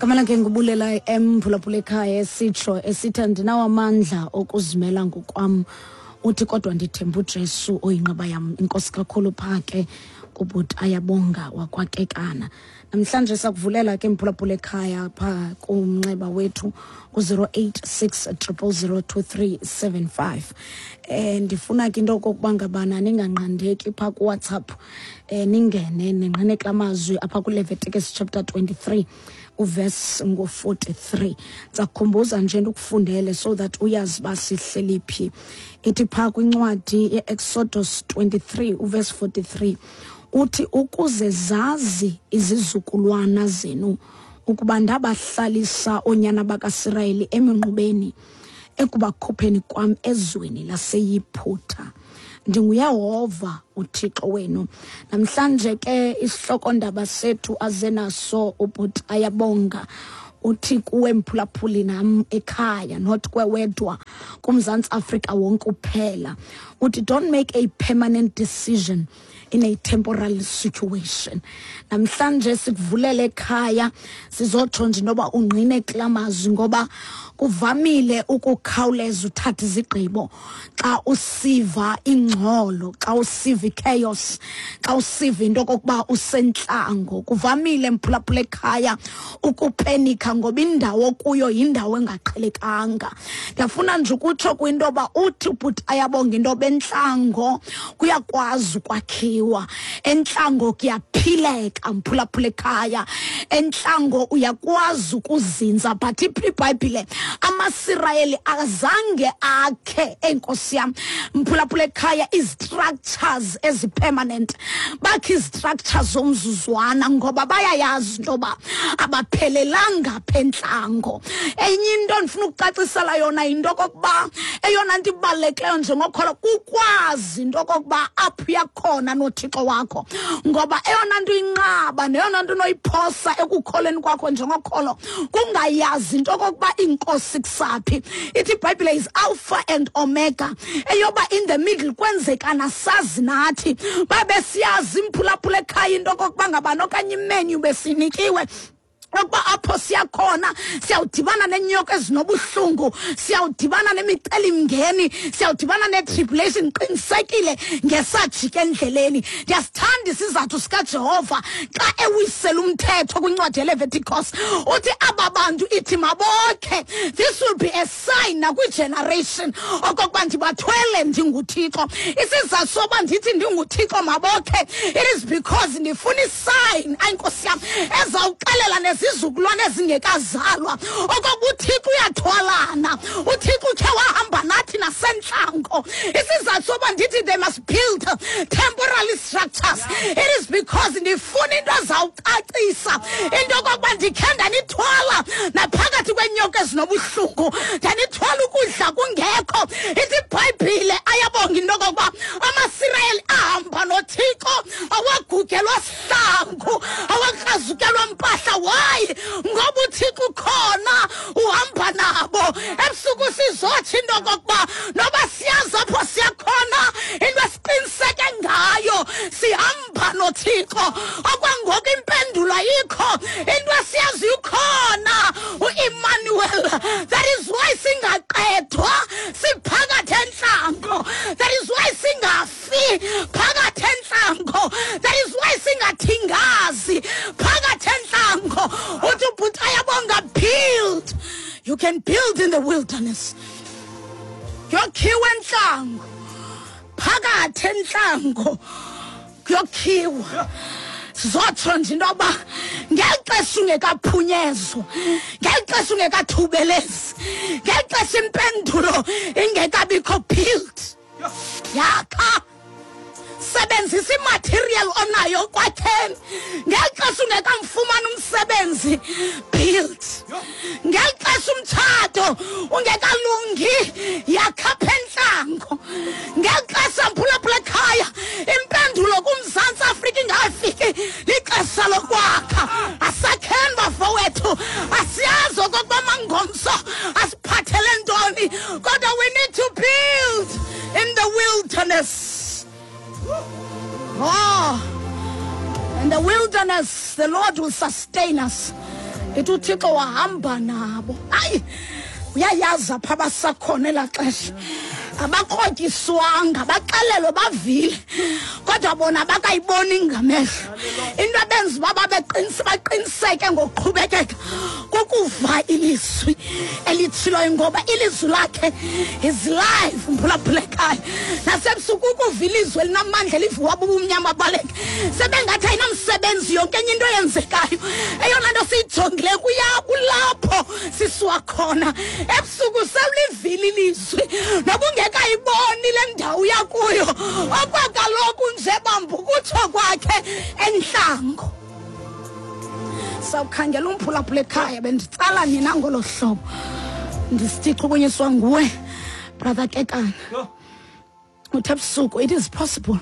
Gama lakhe ngubulela emphulaphula ekhaya esitsho esithi andinawo amandla okuzimela ngokwam uthi kodwa ndithemba ujesu oyinqaba yam inkosi kakhulu phaa ke kubhuti ayabonga wakwakekana namhlanje sakuvulela ke mphulaphula ekhaya phaa kumnxeba wethu ku-086 0002375 um ndifuna ke into okokuba ngabana ninganqandeki phaa kuwhatsapp um ningene ningqine kula mazwi apha kuleviticus chapter 23 uverse ngo-43 ndizakukhumbuza nje ndikufundele so that uyazi uba sihleli phi ithi phaa kwincwadi ye-exodus 23 uverse 43 uthi ukuze zazi izizukulwana zenu ukuba ndabahlalisa oonyana bakasirayeli eminqubeni ekubakhupheni kwam ezweni laseyiphutha ndinguyehova uthixo wenu namhlanje ke isihlokondaba sethu aze naso ubhuti ayabonga uthi kuwe mphulaphuli nam ekhaya not kwewedwa kumzantsi afrika wonke uphela uthi don't make a permanent decision in a temporal situation namhlanje sikuvulele ekhaya sizotsho nje noba ungqine kula mazwi ngoba kuvamile ukukhawuleza uthatha izigqibo xa usiva ingxolo xa usiva ichaos xa usiva into okokuba usentlango kuvamile mphulaphula ekhaya ukupenika ngoba indawo kuyo yindawo engaqhelekanga ndiyafuna nje ukutsho kwinto yoba uthi ubhuti ayabonga into yoba entlango kuyakwazi ukwakhiwa entlango kuyaphileka mphulaphula ekhaya entlango uyakwazi ukuzinza but iphi ibhayibhile amasirayeli azange akhe enkosi yam mphulaphula ekhaya izistructures ezipermanent bakhe izistructures zomzuzwana ngoba bayayazi into yoba abaphelelanga apha entlango enye into ndifuna ukucacisela yona yinto okokuba eyona nto ibalulekileyo njengokholo kukwazi into okokuba apho uyakhona nothixo wakho ngoba eyona nto inqaba neyona nto unoyiphosa ekukholeni kwakho njengokholo kungayazi into okokuba inkosi kusaphi ithi ibhayibhile is alpha and omega eyoba in the middle kwenzekana sazi nathi babe siyazi imphulaphula ekhaya into okokuba ngabani okanye imenyu besinikiwe ukuba apho siyakhona siyawudibana neenyoka ezinobuhlungu siyawudibana nemicelimngeni siyawudibana nee-tribulation qinisekile ngesajika endleleni ndiyasithanda isizathu sikajehova xa ewisela umthetho kwincwadi yeleveticos uthi aba bantu ithi mabokhe this will be a sign nakwigeneration okokuba ndibathwele ndinguthixo isizathu soba ndithi ndinguthixo mabokhe it is because ndifuna isign ayinkosi yam ezawuxelela nezizukulwane ezingekazalwa okokuba uthixo uyathwalana uthixo ukhe wahamba nathi nasentlango isizathu soba ndithi they must build temporary structures it is because ndifuna into ezawucacisa into yokokuba ndikhe ndanithwala naphakathi kweenyoka ezinobuhlungu ndanithwala ukudla kungekho ithi ibhayibhile ayabonga into yokokuba amasirayeli ahamba nothixo awagugelwa sihlangu awakrazukelwa mpahla wayi ngoba uthixo ukhona uhamba nabo ebusuku sizotsho into yokokuba noba siyazi apho siyakhona into esiqiniseke ngayo sihamba nothixo okwangoku impendulo ayikho into esiyazi ukhona uemmanuel that is why singaqedwa siphakathi entlango that is why singafi phakathi entlango that is why singathingazi phakathi entlango uthi ubhuti ayabonga build you can build in the wilderness kuyokhiwa entlango phakathi entlango kuyokhiwa sizotsho nje into yoba ngeli xesha ungekaphunyezwa ngeli xesha ungekathubelezi ngeli xesha impendulo ingekabikho build yakha sebenzisa imaterial onayo kwakheni ngeli xesha ungekamfumani umsebenzi build ngeli xesha umtshato ungekalungi yakha apha entlango ngeli xesha mphulaphula ekhaya impendulo kumzantsi afrika ingafiki lixesha lokwakha asakheni bafowethu asiyazi okokuba mangomso asiphathele ntoni kodwa we need to build in the wilderness oh in the wilderness the lord will sustain us. Ithi uThixo wahamba nabo. Hayi, uyayazi apha basakhona elaa xesha. Abakrotyiswanga, baxelelwe, bavile, kodwa bona bakayiboni ngamehlo. Into ebenza uba baqiniseke ngokuqhubekeka kukuva ilizwi elitshiloyo, ngoba ilizwi lakhe is life. Mphulaphula ekhaya nasebusuku, ukuva ilizwi elinamandla eliviwa bubumnyama baleke sebengathi ayinamsebenzi yonke enye into eyenzekayo. Eyona nto siyijongileyo kuya kulapho sisiwa khona. Ebusuku sewulivile ilizwi noba ungekayiboni le ndawo uya kuyo, okwakaloku nje bamba ukutsho kwakhe entlango. Sawukhangela umphulaphula ekhaya, benditsala nina ngolo hlobo, ndisithi chukunyiswa nguwe, Brother Kekana. Uthe ebusuku it is possible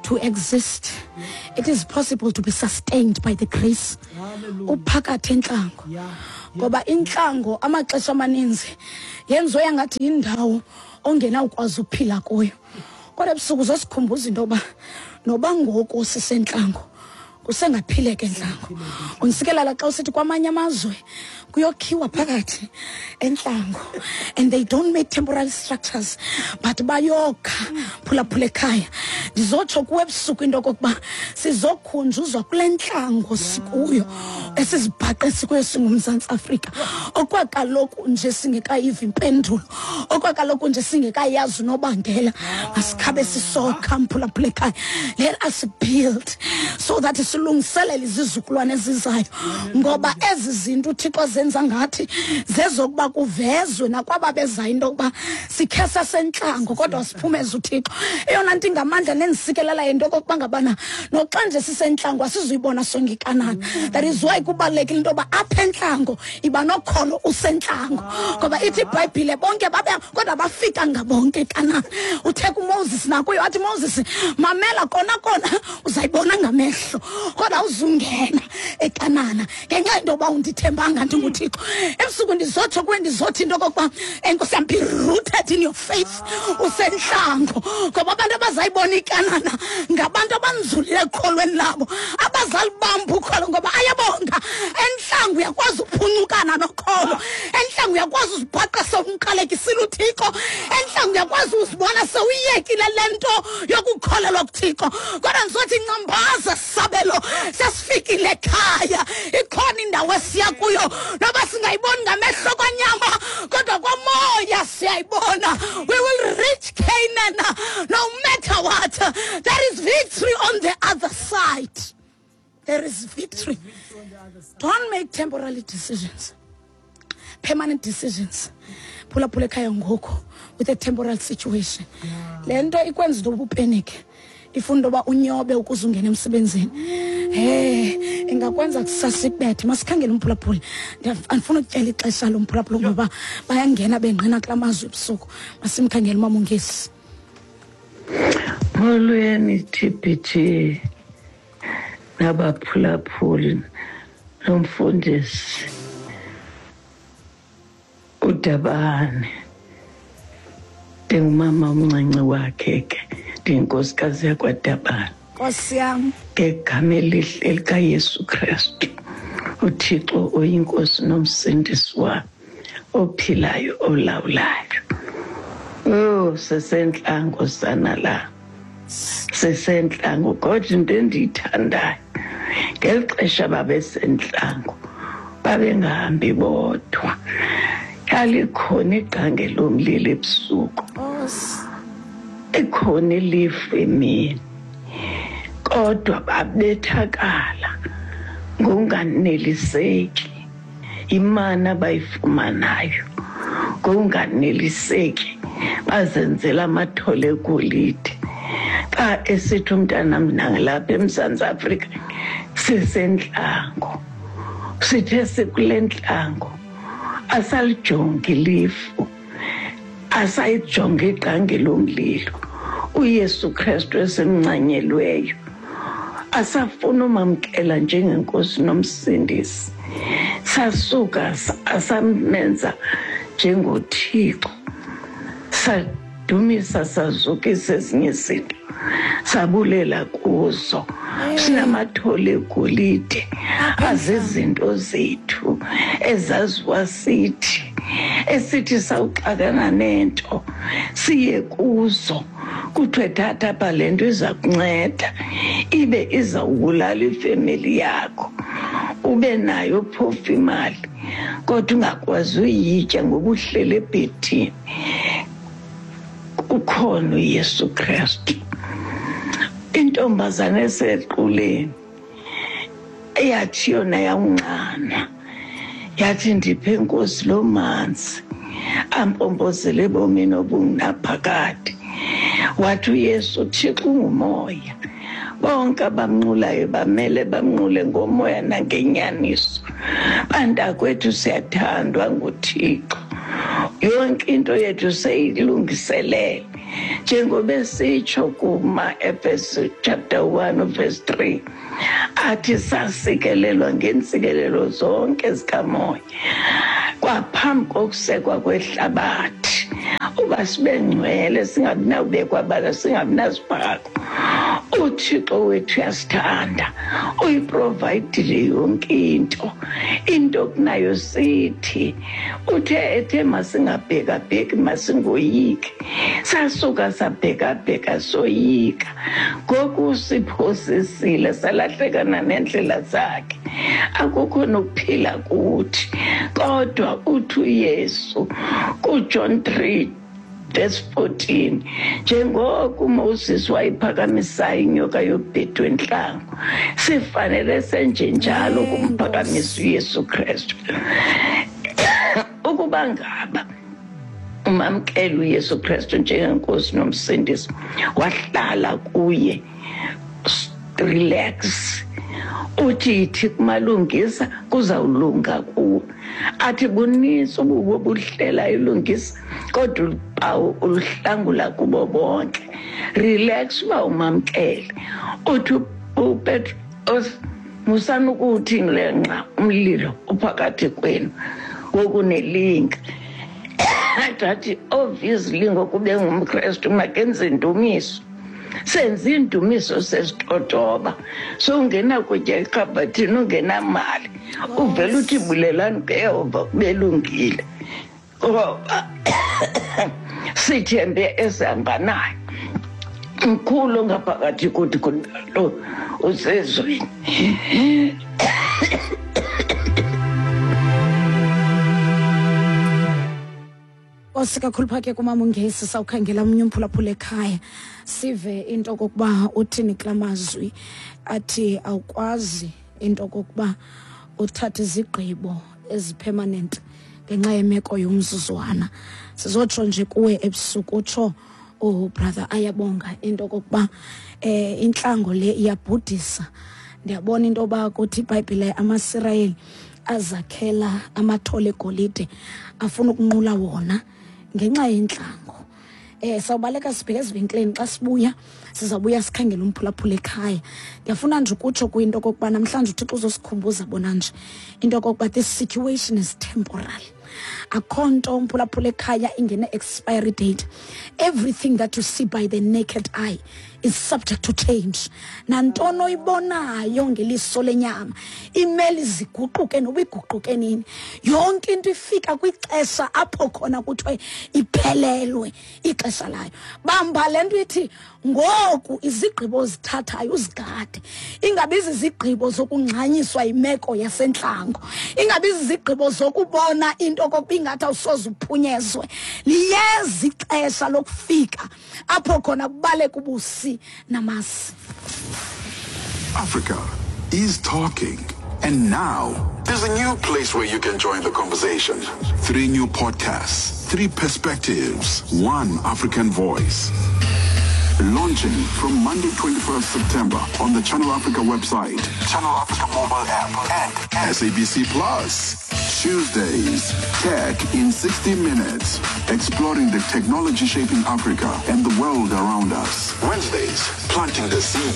to exist, it is possible to be sustained by the grace uphakathi entlango, ngoba intlango amaxesha amaninzi yenziwe yangathi yindawo ongenawukwazi ukuphila kuyo, kodwa ebusuku uzosikhumbuza into yoba noba ngoku sisentlango, kusengaphileka entlango. Undisikelela xa usithi kwamanye amazwe kuyokhiwa phakathi entlango and they don't make temporary structures but bayokha. Phulaphula ekhaya, ndizotsho kuwe ebusuku into okokuba sizokhunjuzwa kule ntlango sikuyo, esizibhaqe sikuyo singuMzantsi Afrika, okwakaloku nje singekayiva impendulo, okwakaloku nje singekayazi unobangela, masikhabe sisokha. Mphulaphula ekhaya, let us build so that silungiselele izizukulwane ezizayo, ngoba ezi zinto uThixo zenza ngathi zezokuba kuvezwe nakwaba bezayo into yokuba sikhe sasentlango kodwa siphumeze uThixo. Eyona nto ingamandla nendisikelela yinto okokuba ngabana noxa nje sisentlango asizuyibona sonke iKanana. That is why kubalulekile into yoba apha entlango iba nokholo usentlango, ngoba ithi iBhayibhile bonke babe kodwa bafika ngabonke eKanana. Uthe kuMoses nakuyo, wathi, "Moses, mamela, kona kona uzayibona ngamehlo kodwa uzungena eKanana ngenxa yento yoba undithembanga ndinguThixo." Ebusuku ndizotsho kuwe, ndizothi into okokuba, enkosi yam, be rooted in your faith usentlango, ngoba abantu abazayibona iKanana ngabantu abanzulile ekholweni labo, abazalibamba ukholo, ngoba ayabonga entlango uyakwazi uphuncukana nokholo, entlango uyakwazi uzibhaqa sewumqalekisile uThixo, entlango uyakwazi uzibona sewuyekile le nto yokukholelwa kuThixo. Kodwa ndizothi ncambaza sabelo, sesifikile ekhaya, ikhona indawo esiya kuyo. Noba singayiboni ngamehlo kwanyama, kodwa kwamoya siyayibona. We will reach Canaan no matter what. There is victory on the other side, there is victory. Don't make temporary decisions, permanent decisions, phulaphula ekhaya, ngoku with a temporal situation. Le nto ikwenza into yoba upenike, ifuna into yoba unyobe ukuze ungene emsebenzini, he ingakwenza kusasa ikubethe. Masikhangele umphulaphuli. Andifuna ukutyela ixesha lomphulaphula ngoba bayangena bengqina kula mazwi ebusuku. Masimkhangele umama uNgesi. Molweni TBT nabaphulaphuli nomfundisi uDabane. Ndingumama omncinci wakhe ke, ndiyinkosikazi yakwaDabane. Nkosi yam. Ngegama elihle likaYesu Kristu, uThixo oyinkosi nomsindisi wam, ophilayo, olawulayo. Oh, sesentlango sana la, sesentlango, kodwa into endiyithandayo, ngeli xesha babesentlango babengahambi bodwa, lalikhona igqange lomlilo ebusuku, ikhona ilifu emini, kodwa babethakala ngonganeliseki imana abayifumanayo, ngonganeliseki bazenzela amathole egolide. Xa esithi umntanam nalapha eMzantsi Afrika sisentlango, sithe sikule ntlango asalijongi ilifu, asayijonge igqange lomlilo, uYesu Kristu esimncanyelweyo, asafuna umamkela njengenkosi nomsindisi, sasuka asamenza njengoThixo, sadumisa, sazukisa ezinye izinto, sabulela kuzo. Sinamathole egolide, azizinto zethu ezaziwa sithi, esithi sawuxakana nento siye kuzo, kuthiwe thatha apha le nto iza kunceda, ibe izawubulala ifemeli yakho. Ube nayo phofu imali, kodwa ungakwazi uyitya ngoba uhleli ebhedini. Kukhona uYesu Kristu. Intombazana esequleni eyathi yona yawunxanwa, yathi ndiphe Nkosi lo manzi ampompozele ebomini obungunaphakade. Wathi uYesu, Thixo ungumoya, bonke abamnqulayo bamele bamnqule ngomoya nangenyaniso. Bantakwethu, siyathandwa nguThixo, yonke into yethu seyilungiselele, njengoba esitsho kuma-Efeso chapter 1 verse 3, athi sasikelelwa ngeentsikelelo zonke zikamoya kwaphambi kokusekwa kwehlabathi, uba sibe ngcwele, singabi nawubekwa bala, singabi nazibhako. UThixo wethu uyasithanda, uyiprovayidile yonke into. Into kunayo sithi uthe ethe masingabhekabheki, masingoyiki, sasuka sabhekabheka soyika. Ngoku siphosisile, salahlekana neendlela zakhe, akukho nokuphila kuthi. Kodwa uthi uYesu kuJohn 3 verse 14, njengoko uMoses wayiphakamisayo inyoka yobhedu entlango, sifanele senjenjalo kumphakamisa uYesu Kristu. Ukuba ngaba umamkela uYesu Kristu njengenkosi nomsindisi, wahlala kuye, relax, uthi yithi kumalungisa kuzawulunga kuwo. Athi bunintsi ububi obuhlela ilungisa, kodwa ubawo uluhlangula kubo bonke. Relax uba umamkele. Uthi uPetros, musani ukuthi ngile nqa umlilo uphakathi kwenu wokunelinga. Athi obviously ngokube ngumKristu makenze indumiso. Senze indumiso sesitotoba, sowungena kutya ekhabhathini ungenamali, uvele uthi bulelani kuYehova kubelungile, ngoba sithembe esihamba naye. Mkhulu ngaphakathi kuthi kunalo usezweni. Nkosi kakhulu phake kumama uNgesi. Sawukhangela omnye umphulaphula ekhaya, sive into okokuba uthini kula mazwi athi awukwazi into okokuba uthathe izigqibo ezipermanent ngenxa yemeko yomzuzwana. Sizotsho nje kuwe ebusuku, utsho ubrother Ayabonga into okokuba intlango le iyabhudisa. Ndiyabona into yoba kuthi iBhayibhile amaSirayeli azakhela amathole egolide, afuna ukunqula wona ngenxa yentlango. Sawubaleka sibheke ezivenkileni, xa sibuya sizawubuya sikhangele umphulaphula ekhaya. Ndiyafuna nje ukutsho kwinto okokuba namhlanje uThixo uzosikhumbuza bona nje into okokuba this situation is temporal. Akho nto umphulaphula ekhaya ingene expiry date. Everything that you see by the naked eye is subject to change. Nantoni oyibonayo ngeliso lenyama imele iziguquke noba iguquke nini. Yonke into ifika kwixesha apho khona kuthiwe iphelelwe ixesha layo. Bamba le nto ithi ngoku izigqibo ozithathayo uzigade, ingabi zizigqibo zokungxanyiswa yimeko yasentlango, ingabi zizigqibo zokubona into okokuba ingathi awusoze uphunyezwe. Liyeza ixesha lokufika apho khona kubaleka ubusi namasi. Africa is talking. And now, there's a new place where you can join the conversation. 3 new podcasts, 3 perspectives, 1 African voice. Launching from Monday, 21st September on the Channel Africa website, Channel Africa mobile app, and SABC Plus. Tuesdays, Tech in 60 Minutes, exploring the technology shaping Africa and the world around us. Wednesdays, planting the seed,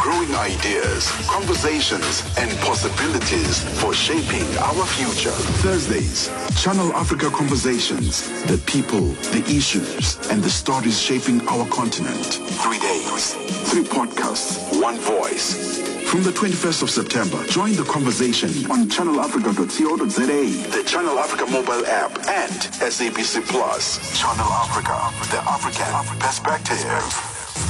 growing ideas, conversations, and possibilities for shaping our future. Thursdays, Channel Africa Conversations, the people, the issues, and the stories shaping our continent. 3 days, 3 podcasts, 1 voice. From the 21st of September, join the conversation on channelafrica.co.za, the Channel Africa mobile app, and SABC Plus. Channel Africa, the African perspective.